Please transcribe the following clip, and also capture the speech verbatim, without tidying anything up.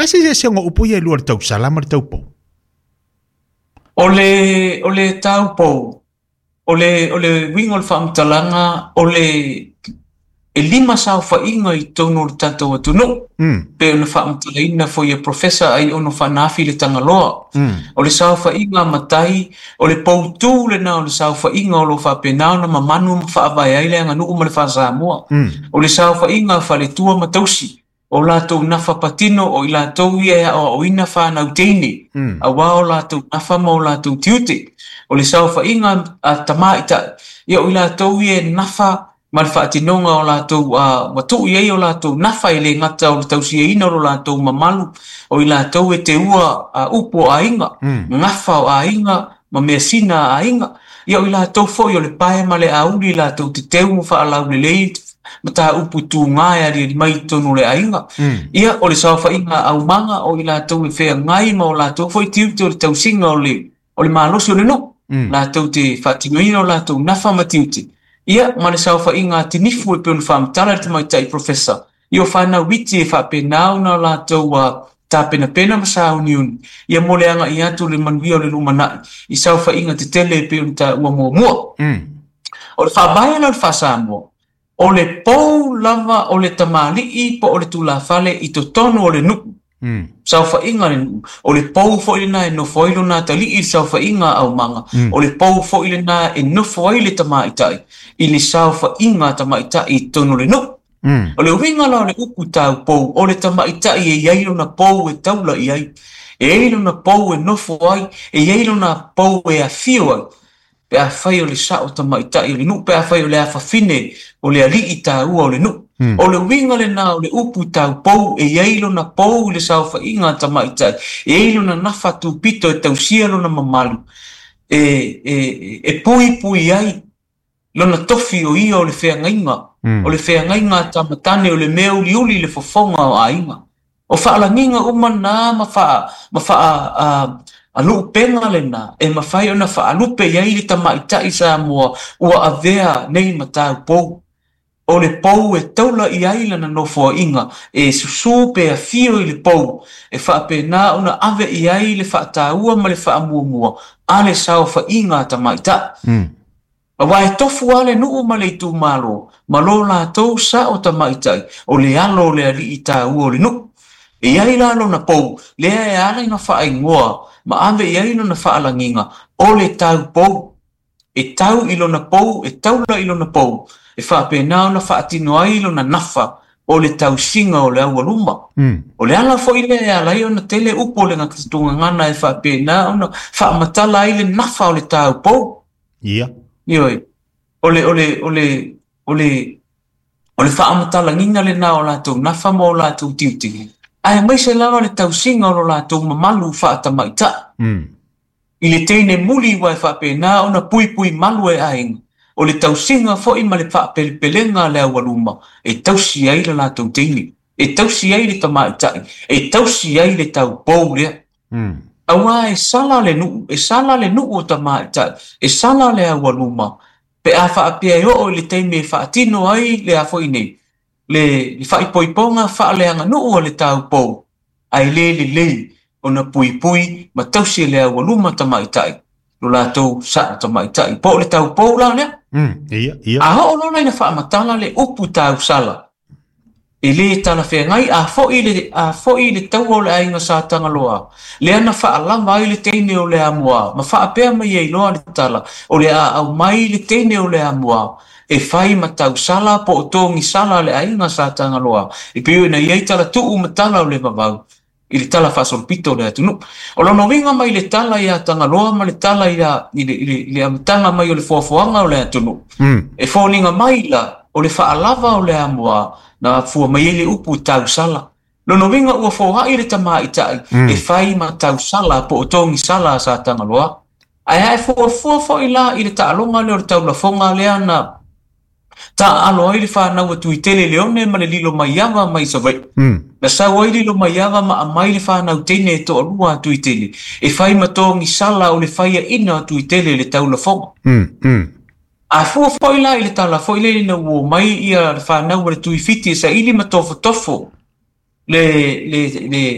A se se se upu ia e lua le tausala ma le taupou. O le, o le taupou, o le, o le uiga o le faamatalaga, o le e lima saofaiga i totonu o le tatou atunuu, Mm. pe ona faamatalaina foi e Professor ai ono faanaafi le Tagaloa. Mm. O le saofaiga matai, o le poutū lena o le saofaiga o lo faapena ona mamanu ma faavae ai le aganuu ma le faasamoa. Mm. O le saofaiga faletua ma tausi, o latou nafa patino o i latou ia e aoaoina fanau teine, Mm. auā o latou nafa ma o latou tiute. O le saofaiga a tamaitai, ia o i latou ia e nafa ma le faatinoga o latou uh, ua tuu i ai o latou nafa e le gata o le tausiaina o lo latou mamalu, o i latou e teua uh, upu o aiga, Mm. gafa o aiga ma measina a aiga. Ia o i latou foi o le pae ma le auli latou te teu ma faalaulelei mataupu tuga e aliali mai i totonu o le aiga. Mm. Ia o le saofaiga aumaga o i latou e feagai ma o latou foi tiute o le tausiga o le o le malosi o le nuu. Mm. Latou te faatinoina o latou nafa ma tiute. Ia ma le saofaiga a tinifu e pei ona faamatala le tamaitai professor. Ia o fanau iti e faapena ona latou uh, tapenapena ma sauniuni. Ia mo le agai atu le manuia o le lumanai i saofaiga tetele e pei ona taua muamua. Mm. O le faavae la o le faasamoa, o le pou lava o le tamalii po o le tulafale i totonu o le nuu. Mm. Saofaiga le nuu. O le pou foi lena e nofo ai lona atalii i le saofaiga a aumaga. Mm. O le pou foi lena e nofo ai le tamaitai i le saofaiga a tamaitai i totonu o le nuu. Mm. O le uiga la o le upu taupou, o le tamaitai e i ai lona pou e taula i ai. E i ai lona pou e nofo ai, e i ai lona pou e afio ai. Pe afai o le sao tamaitai o le nuu, pe afai o le afafine o le alii taua o le nuu. Mm. O le uiga lena o le upu taupou, e i ai lona pou i le saofaiga a tamaitai, e i ai lona nafa tupito e tausia lona mamalu, e, e, e puipui ai lona tofi o ia o le feagaiga, Mm. o le feagaiga a tamatane o le mea uliuli i le fofoga o aiga. O faalagiga uma na ma faa, ma faa, a, a luupega lena, e mafai ona faalupe i ai le tamaitai Samoa ua avea nei ma taupou. O le pou e taula i ai lana nofoaiga, e susū pe afio i le pou, e faapena ona ave i ai le faataua ma le faamuamua a le saofaiga a tamaitai. Mm. Auā e tofu lava le nuu ma le itumalo, ma lo latou sao tamaitai, o le alo o le alii taua o le nuu. E i ai la lona pou, lea e ala ina faaigoa, ma ave i ai lona faalagiga, o le taupou. E tau i lona pou, e taula i lona pou, e faapena ona faatino ai lona nafa, o le tausiga o le aualuma. Mm. O le ala foi lea e ala ai ona tele upu o le gatatoga e faapena ona faamatala ai le nafa o le taupou. Ia. Ioe, o le, o le, o le, o le, o le faamatalagiga lena o latou nafa ma o latou tiute. Aemaise lava le tausiga o lo latou mamalu faatamaitai. Mm. I le teine muli ua e faapena ona puipui malu e aiga. O le tausiga foi ma le faapelepelega a le aualuma e tausi ai le latou teine, e tausi ai le tamaitai, e tausi ai le taupou lea. Mm. Auā e sala le nuu, e sala le nuu o tamaitai, e sala le aualuma, pe a faapea e oo i le taimi e faatino ai le a foi nei, le, le faaipoipoga faaleaganuu a le taupou, ae le lelei ona puipui ma tausi e le aualuma tamaitai, lo latou sao tamaitai. Po o le taupou la lea. Mm. Ia, ia. A oo loa ina faamatala le upu tausala, e lē talafeagai a foi le, a foi le taua o le aiga Sa Tagaloa, lea na faalava ai le teine o le Amoa, ma faapea mai ai loa le tala, o le a aumai le teine o le Amoa, e fai ma tausala po o togisala le aiga Sa Tagaloa, e pei ona i ai talatuu ma tala o le vavau, i le tala faasolopito o le atunuu. O lona uiga mai le tala ia Tagaloa ma le tala ia, i le, i le, i le amataga mai o le foafoaga o le atunuu. Mm. E foliga mai la, o le faalava o le Amoa, na fua mai ai le upu tausala. Lona uiga ua foai le tamaitai, Mm. e fai ma tausala po o togisala a Sa Tagaloa. Ae ae fuafua foi la i le taaloga lea o le taulafoga lea na taaalo ai le fanau a Tuitele Leone ma le lilo maiava mai Savaii. Mm. Na sau ai lilo maiava ma aumai le fanau teine e toalua a Tuitele, e fai ma togisala o le faiaina o Tuitele i le taulafoga. Mm. Mm. A fua foi la i le tala foi lea ina ua omai ia le fanau a le Tuifiti e saili ma tofotofo le, le, le,